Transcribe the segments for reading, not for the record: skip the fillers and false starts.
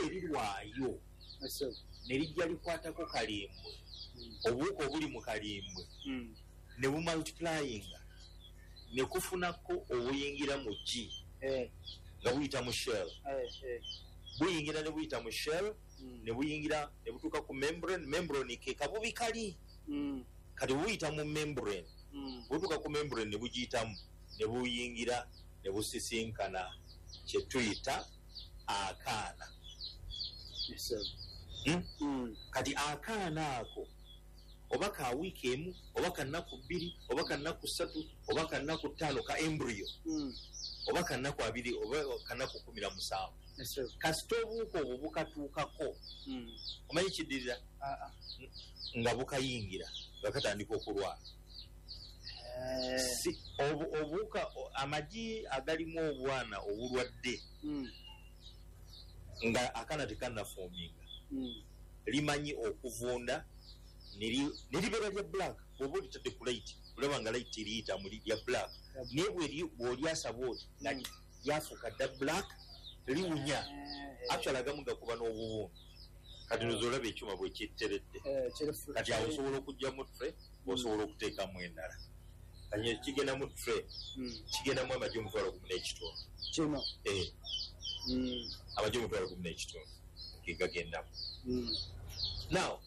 Bwe lirwayo ne lijja likwatako kalimbwe, obuwuka obuli mu kalimbwe ne bumultiplyinga ne kufunako obuyingira mu ggi nga buyita mu shell, buyingira ne buyita mu shell, ne buyingira ne butuuka ku membrane. Membrane ke kabubi kali. Kati buyita mu membrane, butuuka ku membrane ne bugiyitamu ne buyingira ne busisinkana kye tuyita akaana. Kati akaana ako oba ka wiiki 1 oba ka nnaku 2 oba ka nnaku 3 oba ka nnaku 5 ka embryo, oba ka nnaku 2 oba ka nnaku 17, kasita obuwuka obwo bukatuukako, omanyi kiddirira nga bukayingira nga katandika okulwala. Obuwuka, amagi agalimu obwana obulwadde nga akaana tekannafuuminga, limanyi okuvunda ne libeera lya black. Bw'oba olitadde ku light olaba nga light eriyita mu lya black, naye bw'olyasa bw'oti nga lyafuuka dda black, liwunya. Actually agamu gakuba n'obuwundu. Kati nozo olaba ekyuma bwe kiteredde. Kati awo osobola okuggyamu tray, osobola okuteekamu endala. Kati kigenda mu tray, kigendamu amagi 15,000. Kino? Amagi 15,000 ge gagendamu. Now,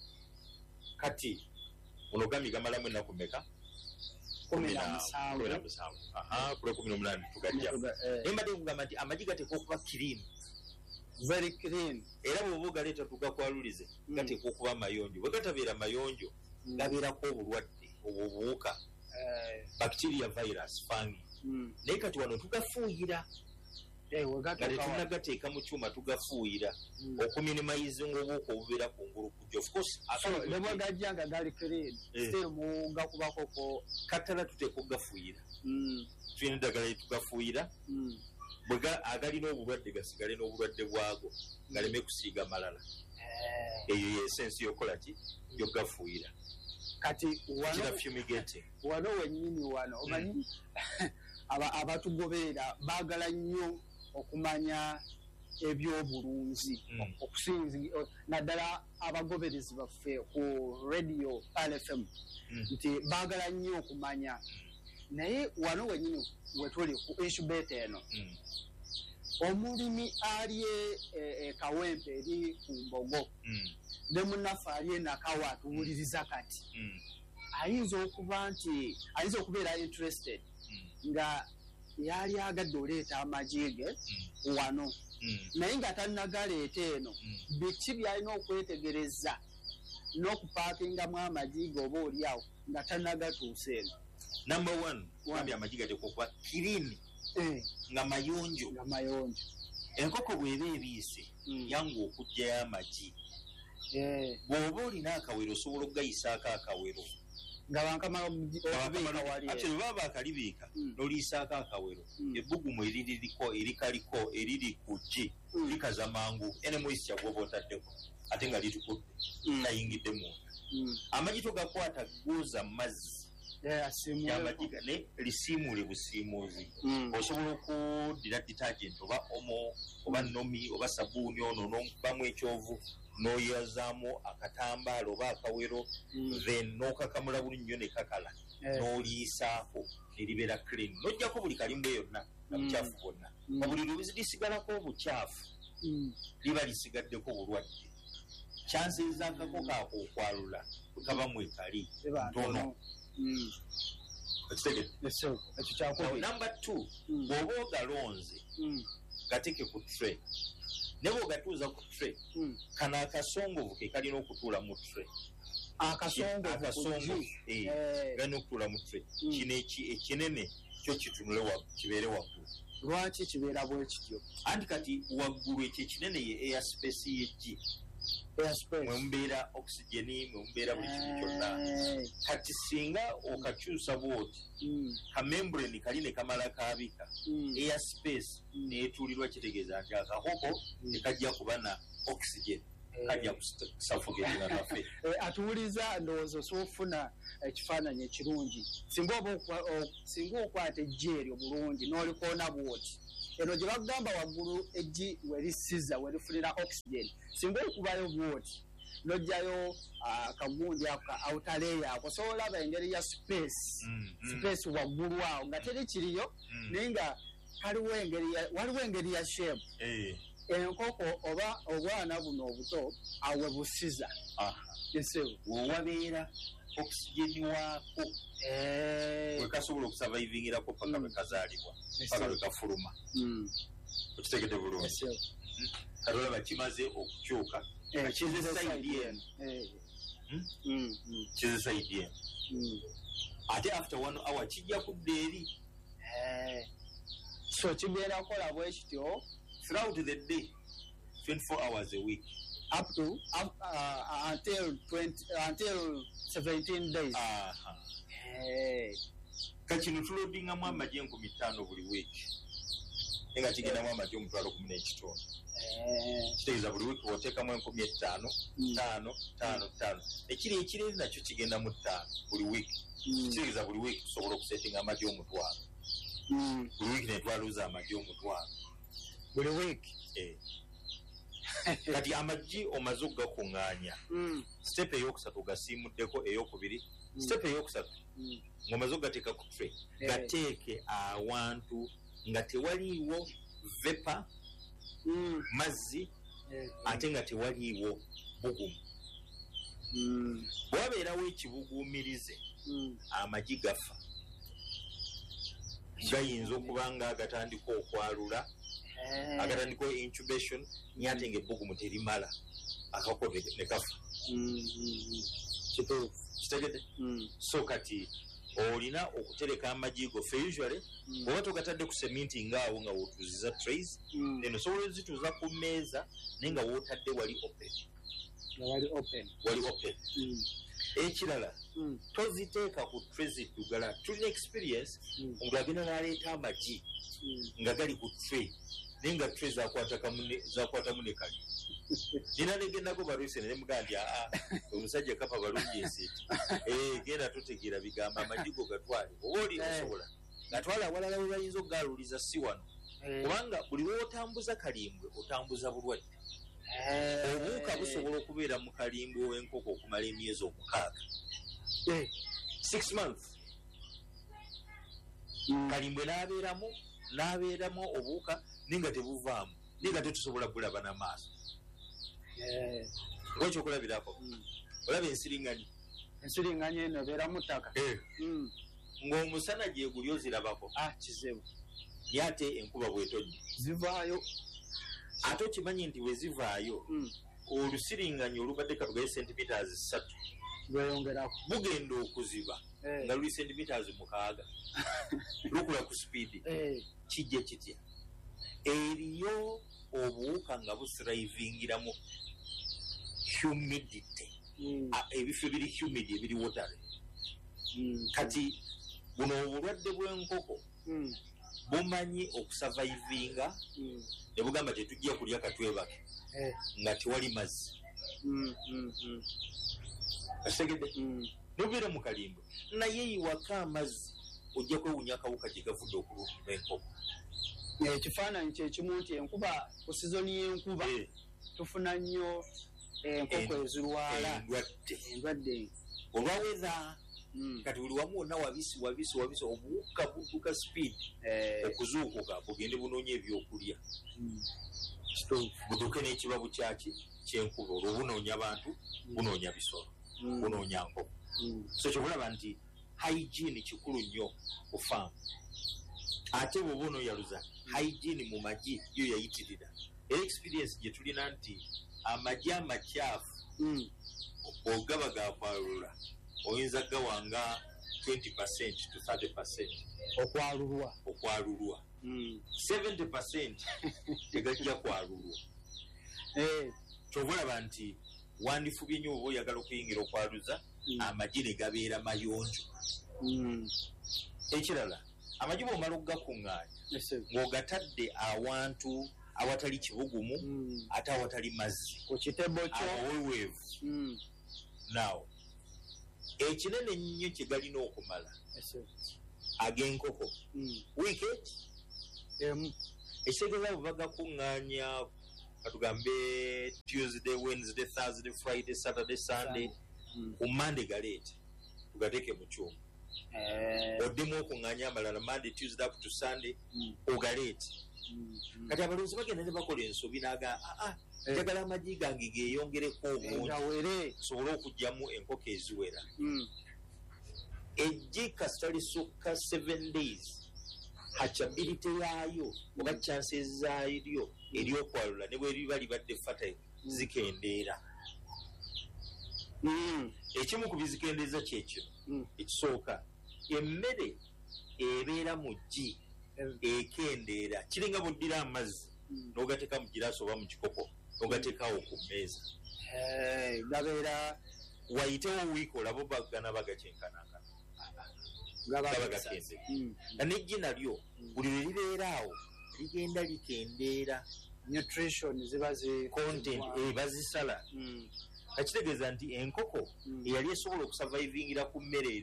kati ono gambye gamalamu ennaku mmeka? 17. 17. Aha, kule 18 tugajjamu. Naye mbadde nkugamba nti amagi gateekwa okuba clean. Very clean. Era bw'oba ogaleeta tugakwalulize, gateekwa okuba mayonjo. Bwe gatabeera mayonjo, gabeerako obulwadde obwo obuwuka, bacteria, virus, fungi. Naye kati wano tugafuuyira, nga tetunnagateeka mu kyuma, tugafuuyira okuminimizinga obuwuka obubeera kungulu kujja. Of course, ne bwe gajja nga gali clean, still mugakubako ko katala tuteeka okugafuuyira. Tulina eddagala lye tugafuuyira, bwe agalina obulwadde gasigale n'obulwadde bwago, galeme kusiiga malala. Eyo ye essence y'okukola ki? Y'okugafuuyira. Kati wano wano wennyini wano omanyi abatugoberera baagala nnyo okumanya ebyobulunzi, okusinzi naddala abagoberezi baffe ku radio RFM, nti baagala nnyo okumanya. Naye wano wennyini wetuli ku incubator eno, omulimi ali e Kawempe eri ku Mbogo, ne munnaffe ali e Nakawa atuwuliriza kati, ayinza okuba nti ayinza okubeera interested nga yali agadde oleeta amagi ge wano, naye nga tannagaleeta eno, biki by'alina okwetegereza n'okupaakingamu amagi ge oba oli awo nga tannagatuusa eno? Number 1, gambye amagi gateekwa okuba clean, nga mayonjo. Nga mayonjo. Enkoko bw'eba ebiise, yangu okuggyayo amagi. Bw'oba olina akawero osobola okugayisaako akawero. Nga bankamala okubiika wali. Actually baba bakalibiika, n'oliyisaako akawero. Ebbugumu eriririko, erikaliko, eriri ku ggi, likaza mangu ene moisture gw'oba otaddeko, ate nga litukudde, tayingidde munda. Amagi togakwata gooza mazzi. Amagi ne lisiimuule busiimuuzi. Osobola okuddira detergent oba omo oba nomi oba sabbuuni ono n'omukubamu ekyovu, n'oyozaamu akatambaala oba akawero, then n'okakamula bulungi nnyo ne kakala, n'oliyisaako ne libeera clean, n'oggyako buli kalimbwe yonna na bukyafu bwonna. Buli lwe lisigalako obukyafu, liba lisigaddeko bulwadde. Chances z'akako kaako okwalula bwe kaba mwekali ntono. Number 2, bw'oba ogalonze, gateeke ku tray. Ne bw'ogatuuza ku tray, kano akasongovu ke kalina okutuula mu tray. Akasongovu galina okutuula mu tray. Kino ekinene kyo kitunule kibeere waggulu. Lwaki kibeera bwe kityo? Anti kati waggulu ekyo ekinene ye air space y'eggi. Mwe mubeera oxygen, mwe mubeera buli kintu kyonna. Kati singa okakyusa bw'oti, ka membrane kali ne kamala kaabika, air space neetuulirwa, kitegeeza nti akakoko tekajja kuba na oxygen, kajja kusuffocatinga kafe. Atuwuliza ndowooza osobola okufuna ekifaananyi ekirungi. Singa okwata eggi eryo bulungi n'olikoona bw'oti, Eno gye bagamba waggulu eggi werisiza, werifunira oxygen, singa okubayo bwoti nojjayo akagundi ako ka outer layer ako, osobola olaba engeri ya space, space waggulu awo nga teri kiriyo, naye nga kaliwo engeri waliwo engeri ya shape. Enkoko oba obwana buno obuto awe busiza wewabeera oxygen waako, wekasobola okusurvivingirako paka lwekazaalibwa, paka lwekafuluma. Okitegedde bulungi? Kati olaba kimaze okukyuka, kize side eno, kize side eno, ate after 1 hour kijja kudda eri. So kigenda kukola bwe kityo throughout the day, 24 hours a week, up to until 20, until 17 days. Kati tulodingamu amagi 5,000 buli week, nga kigendamu amagi 15,000. Kitegeeza buli wiiki oteekamu 5,000, 5, 5, 5. Ekiri ekireri nakyo kigenda mu 5 buli wiiki. Kitegeeza buli wiiki tusobola okusetinga amagi 1,000. Buli wiiki ne twaluza amagi 1,000. Buli wiiki? Kati amagi omaze okugakuŋŋaanya. Step eyokusatu ogasiimuddeko, eyokubiri. Step eyokusatu ng'omaze okugateeka ku tray, gateeke awantu nga tewaliiwo vapor, mazzi, ate nga tewaliiwo bugumu. Bwabeerawo ekibuguumirize, amagi gafa. Gayinza okuba nga agatandika okwalula, agatandika incubation, naye ate ng'ebbugumu terimala, akako ne kafa. Kitegedde? So kati olina okutereka amagi go ffe usually oba togatadde ku seminti ngaawo nga wootuuziza trays, then osobola ozituuza ku mmeeza naye nga wootadde wali open. Wali open. Ekirala, toziteeka ku tray ziddugala. Tulina experience, omuntu agenda n'aleeta amagi nga gali ku tray, naye nga tray zakwatamu ne kali. Nina negendako balwise ne mugamba nti aa omusajja kapa balungi ensiiti. Genda totegeera bigambo, amagi go gatwale oba oli osobola gatwale awalala we bayinza okugaluliza, si wano. Kubanga buli lw'otambuza kalimbwe otambuza bulwadde. Obuwuka busobola okubeera mu kalimbwe w'enkoko okumala emyezi 6. 6 months. Kalimbwe n'abeeramu obuwuka naye nga tebuvaamu, naye nga tetusobola kulaba n'amaaso. Ng'ekyokulabirako, olaba ensiringanyi. Ensiringanyi eno ebeera mu ttaka. Ng'omusana gye guli ozirabako. Kizibu. Naye ate enkuba bw'etonnya zivaayo. Ate okimanyi nti bwe zivaayo, olusiringanyi olubadde katugaye centimeters 3 lweyongerako, bugenda okuziba nga luli centimeters 6. Lukula ku speed. Kijja kitya? Eriyo obuwuka nga busrivingiramu humidity. Ebifo ebiri humid, ebiri watery. Kati buno obulwadde bw'enkoko bumanyi okusurvivinga, ne bugamba tetujja kulya katwebake nga tewali mazzi. Okitegedde? Nobeera mu kalimbwe naye yiwako amazzi, ojja kwewuunya akawuka gye gavudde okulumba enkoko. Ekifaananyi kyekimu nti enkuba, ku sizoni y'enkuba tufuna nnyo enkoko ezirwala endwadde olwa weather. Kati buli wamu wonna wabisi wabisi wabisi, obuwuka budduka speed okuzuukuka bugende bunoonya ebyokulya, butuuke n'ekibabu kyaki kyenkuba. Olwo bunoonya bantu, bunoonya bisolo, bunoonya nkoko. So kyobulaba nti hygiene kikulu nnyo ku faamu. Ate bw'oba onooyaluza, hygiene mu magi yo yayitirira. Era experience gye tulina nti amagi amakyafu ogaba gakwalula, oyinza gawanga 20% to 30% okwalulwa. 70% tegajja kwalulwa. Kyova olaba nti wandifubye nnyo oba oyagala okuyingira okwaluza, amagi ne gabeera mayonjo. Ekirala, amagi bw'omala okugakuŋŋaanya ng'ogatadde awantu awatali kibugumu, ate awatali mazzi, ku kitebo kyo awaweweevu. Now ekinene ennyo kye galina okumala ag'enkoko wiiki emu. Ekitegeeza bwe bagakuŋŋaanya, katugambe Tuesday, Wednesday, Thursday, Friday, Saturday, Sunday, ku Monday galeete tugateeke mu kyuma. Oddemu okuŋŋaanya amalala Monday, Tuesday up to Sunday, ogaleete. Kati abalunzi bagenda ne bakola ensobi n'agamba, "Aa, njagala amagi gange geeyongereko obungi gawere, nsobole okuggyamu enkoko eziwera." Eggi kasita lisukka 7 days, hatchability yaayo oba chances zaalyo eryokwalula ne bwe liba libadde fertile zikendeera. Ekimu ku bizikendeeza kyekino. Ekisooka, emmere ebeera mu ggi ekendeera. Kiringa bw'oddira amazzi n'ogateeka mu giraasi oba mu kikopo n'ogateekawo ku mmeeza, gabeera wayitewo wiiki olaba bagana bagakyenkanankana, gaba gaba gakendedde. Nga n'eggi nalyo buli lwe libeera awo ligenda likendeera. Nutrition ziba zi Content bazisala. Kakitegeeza nti enkoko eyali esobola okusurvivingira ku mmere eri